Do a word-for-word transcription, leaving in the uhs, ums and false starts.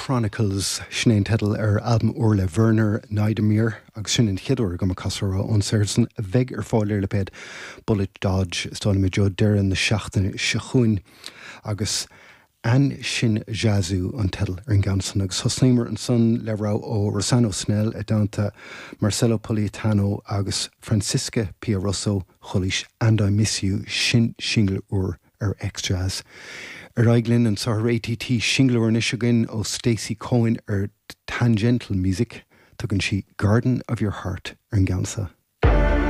Chronicles sin é an teideal ar albam úr le Werner Neidermeyer agus sin an chéad uair agam ag casadh ón saothar san a bheidh ar fáil ar lipéad Bullet Dodge is dóigh liom i dtreo deireadh na seachtaine seo chugainn agus An-Sin Jazu an teideal ar an gceann san agus thosnaíomar ansan le rogha ó Rossano Snell i dteannta Marcello Politano agus Francisca Pia Russo chualaís And I Miss You sin singil úr ar XJazz. Ar aghaidh linn anseo ar ATT singil úr anois againn ó Stacey Cohen ar Tangential Music, tugann sí Garden of Your Heart ar an gceann seo.